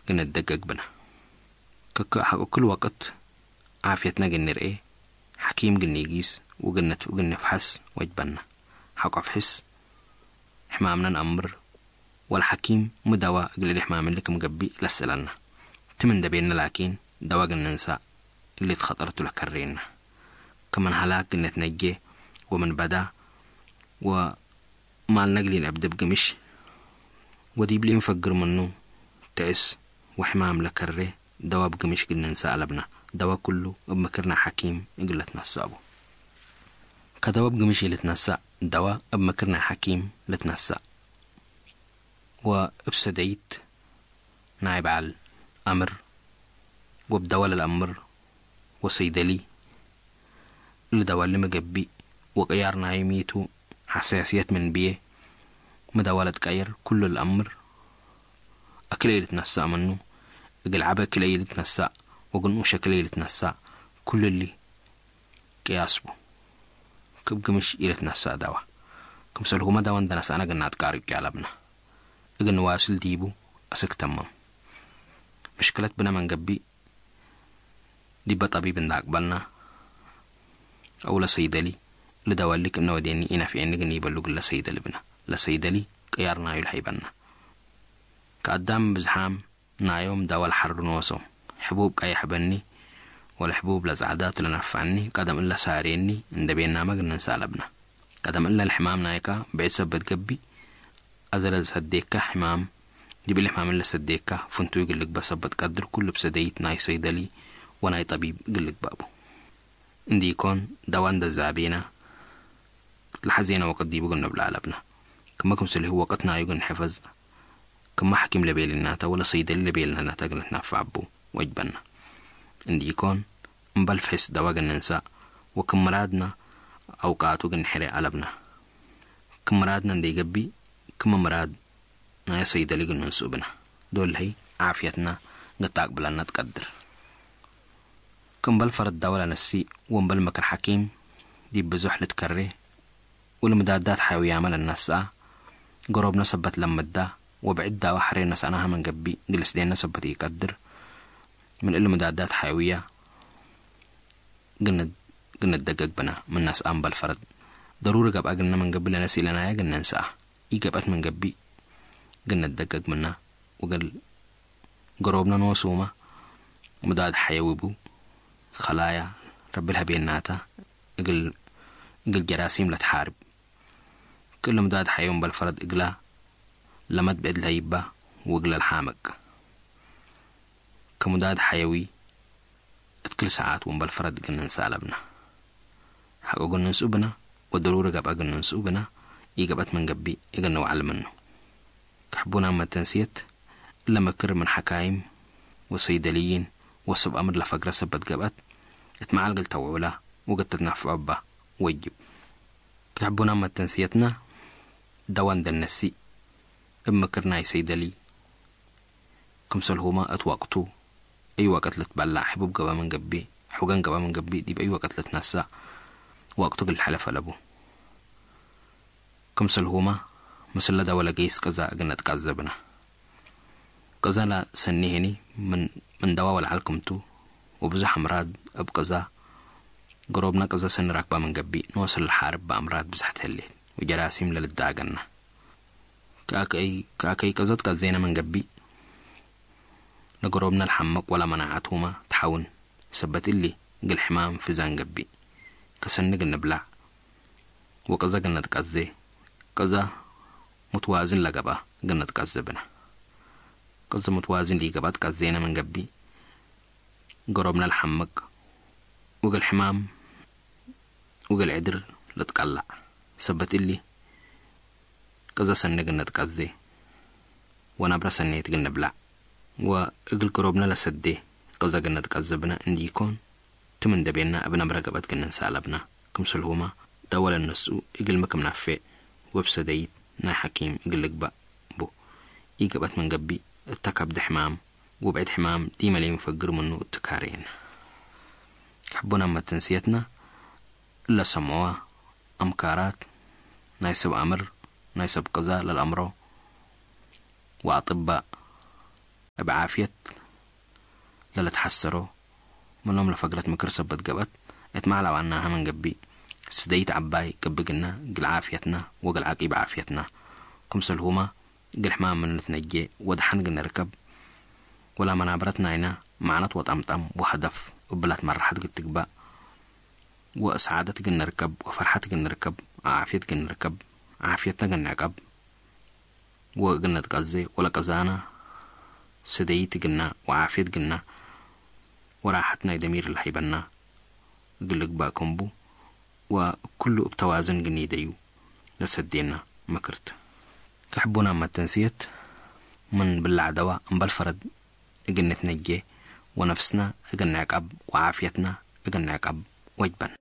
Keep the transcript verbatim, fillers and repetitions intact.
እግል ንደገግ ብነ። ከከ ሐቆ ክል ወቅት ዓፍየትነ እግል ንርኤ፣ ሐኪም እግል ኒጊስ ወእግል ንትፍ-፣ እግል ንፍሐስ ወጅበነ። ሐቆ ፍሕስ ሕማምነ ነአምር፣ ወለሐኪም ሚ ደዋ እግል እሊ ሕማም እሊ ክም ገብእ ለስአለነ። ትም እንዴ ቤነ ላኪን፣ ደዋ እግል ንንሳእ እሊ እት ኸጠር ቱ ለከሬነ። ከምን ሀላክ እግል ንትነጄ ወምን በዳ ወማልነ እግል ኢነአብዴ እብ ግምሽ ወዲብሊ እንፈግር ምኑ ተእስ ወሕማም ለከሬ፣ ደዋ እብ ግምሽ እግል ንንሳእ አለብነ። ደዋ ኩሉ እብ ምክር ናይ ሐኪም እግል ልትነሰእ ቡ። ከደዋ እብ ግምሽ ኢልትነሰእ፣ ደዋ እብ ምክር ናይ ሐኪም ልትነሰእ። ወእብ ሰደይት ናይ በዐል አምር ወእብ ደዋ ለልአምር ወሰይደሊ እሊ ደዋ እሊ ሚ ገብእ ወቅያር ናዩ ሚ ቱ፣ ሐሳስየት ምን ብዬ፣ ሚ ደዋ ለትቀየር ኩሉ ለልአምር፣ አክለ ኢልትነሰእ ምኑ፣ እግል ዐበ ክለ ኢልትነሰእ ወእግል ንኡሽ ክለ ኢልትነሰእ፣ ኩሉ እሊ ቅያስ ቡ። ክብ ግምሽ ኢልትነሰእ ደዋ። ክምሰልሁመ ደዋ እንዴ ነሰአነ እግል ነአትቃርጭ አለብነ። እግል ንዋስል ዲቡ አስክ ተምም። ምሽክለት ብነ ምን ገብእ ዲበ ጠቢብ እንዴ አቅበልነ፣ አው ለሰይደሊ፣ ለደዋ እሊ ክእነ ወዴኒ ኢነፍዔኒ እግል ኒበሉ እግል ለሰይደሊ ብነ። ለሰይደሊ ቅያር ናዩ ለሀይበነ። ከአዳም ብዝሓም ናዮም ደዋ ለሐሩ ኖሶም። ሕቡብ ቀየሕ በኒ ወለሕቡብ ለጸዕዳ ቱ ለነፍዐኒ፣ ቀደም እለ ሳሬኒ እንዴ ቤናመ እግል ንንሰእ አለብነ። ቀደም እለ ለሕማም ናይከ ብዕድ ሰበት ገብእ፣ አዜ ለሰዴከ ሕማም ዲብ እሊ ሕማም እለ ሰዴከ ፍንቱይ እግል ልግበእ ሰበት ቀድር፣ ኩሉ እብ ሰደይት ናይ ሰይደሊ ወናይ ጠቢብ እግል ልግበእ ቡ። እንዲኮን ደዋ እንዴ ዛቤነ ለሐዜነ ወቅት ዲቡ እግል ንብልዕ አለብነ። ክመ ክምሰልሁ ወቅት ናዩ እግል ንሕፈዝ፣ ክመ ሐኪም ለቤልናተ ወለሰይደሊ ለቤልናተ እግል ንትነፈዕ እቡ ወጅበነ። እንዲኮን እምበል ፍሕስ ደዋ እግል ንንሳእ ወክም ምራድነ አውቃቱ እግል ንሕሬ አለብነ። ክም ምራድነ እንዴ ገብእ፣ ክም ምራድ ናይ ሰይደሊ እግል ንንስኡ ብነ። ዶል ህይ ዓፍየትነ እግል ተአቅብለነ ትቀድር። ክምበል ፈረድ ደዋ ለነስእ ወእምበል ምክር ሐኪም ዲብ ብዙሕ ልትከሬ ወለምዳዳት ሐያውያመ ለነስአ፣ ገሮብነ ሰበት ለምዳ ወብዕድ ደዋ ሐሬ ነስአናሀ ምን ገብእ፣ እግል ልስዴነ ሰበት ኢቀድር። ምን እሊ ምዳዳት ሐያውየ እግል ንድ-፣ እግል ንደገግ ብነ። ምን ነስአ እምበል ፈረድ ደሩሪ ገብአ እግልነ ምን ገብእ፣ ለነስእ ኢለናየ እግል ንንስአ ኢገብአት ምን ገብእ፣ እግል ንደገግ ምነ። ወእግል ገሮብነ ኖሱመ ሙዳድ ሐየዊ ቡ። ከላያ ረቢ ለሀቤናተ እግል፣ እግል ጀራሲም ለትሓርብ። ክእለ ሙዳድ ሐየዊ እምበል ፈረድ እግላ ለመድ ብዕድ ለህይባ ወእግለ ለሓምቅ። ከሙዳድ ሐየዊ እት ክል ሰዓት ወእምበል ፈረድ እግል ንንሰእ አለብነ። ሐቆ እግል ንንስኡ ብነ ወደሩሪ ገብአ እግል ንንስኡ ብነ፣ ኢገብአት ምን ገብእ እግል ንውዐል ምኑ። ከሕቡናም መተንስየት፣ እለ ምክር ምን ሐካይም ወሰይደልይን ወሰብ አምር ለፈግረ ሰበት ገብአት፣ እት መዓል እግል ተውዕላ ወእግል ትትነፈዕ እባ ወጅብ። ከሕቡናም መተንስየትነ፣ ደዋ እንዴ ነስእ፣ እብ ምክር ናይ ሰይደልይ፣ ክምሰልሁመ እት ወቅቱ፣ አይ ወቅት ልትበላዕ፣ ሕቡብ ገብአ ምን ገብእ፣ ሑገን ገብአ ምን ገብእ፣ ዲብ አይ ወቅት ልትነሰእ፣ ወቅቱ እግል ልሐለፍ አለቡ። ክምሰልሁመ፣ ምስለ ደወ ለገይስ ቅዛ እግል ነትቃዘ ብነ። ቅዛ ለሰኒ ህኒ ምን፣ ምን ደዋ ወለዐል ክምቱ፣ ወብዙሕ አምራድ እብ ቅዛ፣ ገሮብነ ቅዛ ሰኒ ራክባ ምን ገብእ፣ ኖስ ለሓርብ በአምራድ ብዝሐት ህሌት፣ ወጀራሲም ለልዳገነ። ከአከይ፣ ከአከይ ቅዘት ቀዜነ ምን ገብእ፣ ለገሮብነ ለሐምቅ ወለመናዐቱመ ተሐውን። ሰበት እሊ፣ እግል ሕማም ፍዛን ገብእ፣ ከሰኒ እግል ንብላዕ ወቅዘ እግል ነትቀዜ፣ ቅዘ ሙትዋዝን ለገብአ እግል ነትቀዜ ብነ። ቅዘ ሙትዋዝን ሊገብአ ትቀዜነ ምን ገብእ፣ ገሮብነ ለሐምቅ፣ ወእግል ሕማም ወእግል ዕድር ልትቀለዕ። ሰበት እሊ፣ ቅዘ ሰኒ እግል ነትቀዜ ወነብረ ሰኔት እግል ንብላዕ ወእግል ገሮብነ ለሰዴ ቅዘ እግል ነትቀዜ ብነ እንዲኮን፣ ትም እንዴ ቤነ እብ ነብረ ገብአት እግል ንንሰእ አለብነ። ክምሰልሁመ፣ ደወ ለነስኡ እግልሚ ክም ነፌዕ ወእብ ሰደይት ናይ ሐኪም እግል ልግበእ ቡ። ኢገብአት ምን ገብእ፣ እተ ከብድ ሕማም ወብዕድ ሕማም ዲመ ለኢንፈግር ምኑ እቱ ካሬነ። ከሕቡናም መተንስየትነ፣ እለ ሰምዕወ አምካራት ናይ ሰብ አምር፣ ናይ ሰብ ቅዛ ለልአምሮ ወአጥባእ፣ እብ ዓፍየት ለለትሐሰሮ ምኖም ለፈግረት ምክር ሰበት ገብአት፣ እት ማዕላዋናሀ ምን ገብእ፣ ስደይት ዐባይ ገብእ ግና፣ እግል ዓፍየትና ወእግል ዐቂብ ዓፍየትና፣ ክምሰልሁመ እግል ሕማም ምን ልትነጄ ወደሐን እግል ንርከብ፣ ወለመናበረት ናይና መዕነት ወጠምጠም ወሀደፍ እብላት መርሐት እግል ትግባእ፣ ወሰዓደት እግል ንርከብ ወፈርሐት እግል ንርከብ፣ ዓፍየት እግል ንርከብ፣ ዓፍየትና እግል ንዕቀብ፣ ወእግል ንትቀዜ ወለቀዛና ስደይት እግልና ወዓፍየት እግልና ወራሐት ናይ ደሚር ለሀይበና እግል ልግባእ ክምቡ ወክሉ እብ ተዋዝን እግል ኒደዩ ለሰዴና ምክርት። ከሕቡና መተንስየት ምን ብላዕ ደዋ እምበል ፈረድ እግል ንትነጄ ወነፍስና እግል ንዕቀብ ወዓፍየትና እግል ንዕቀብ ወጅበን።